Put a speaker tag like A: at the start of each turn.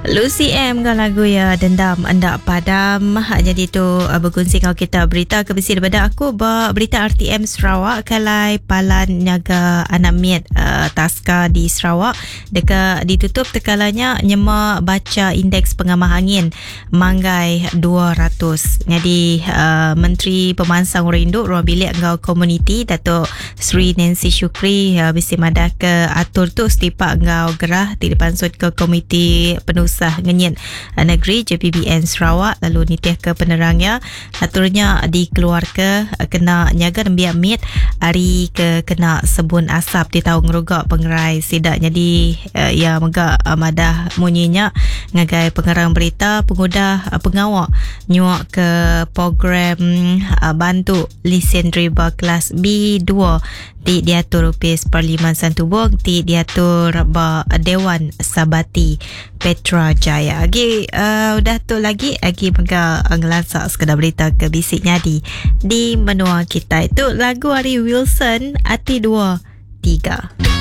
A: Lucy M enggau lagu iya Dendam Enda Padam. Jadi tu uh, berkunsi enggau kita berita ke bisi daripada aku ba berita RTM Sarawak kalai palan nyaga anak mit uh, Taska di Sarawak deka ditutup tekalanya nyema bacha indeks pengamah angin manggai 200. Nyadi uh, Menteri Pemansang Orang Indu Ruang Bilik enggau Komuniti Datuk Sri Nancy Shukri uh, bisi madah ke atur tu setipak enggau gerah ti dipansut ke Komiti Penusah Ngenyit Negeri JPBN Sarawak lalu nitih ke penerang iya atur nya dikeluarka kena nyaga nembiak mit ari ke kena sebun asap ti tau ngeruga pengerai sida. Nyadi iya mega madah munyi nya ngagai pengerang berita pengudah pengawa nyuaka program bantu lisen deriba kelas B2 ti diatur Opis Parlimen Santubong ti diatur ba Dewan Sabati Petra Jaya. Agi uh, udah tu lagi agi mega ngelansa sekeda berita ke bisi nyadi di menua kitai. Tu lagu ari Wilson Ati 2 3.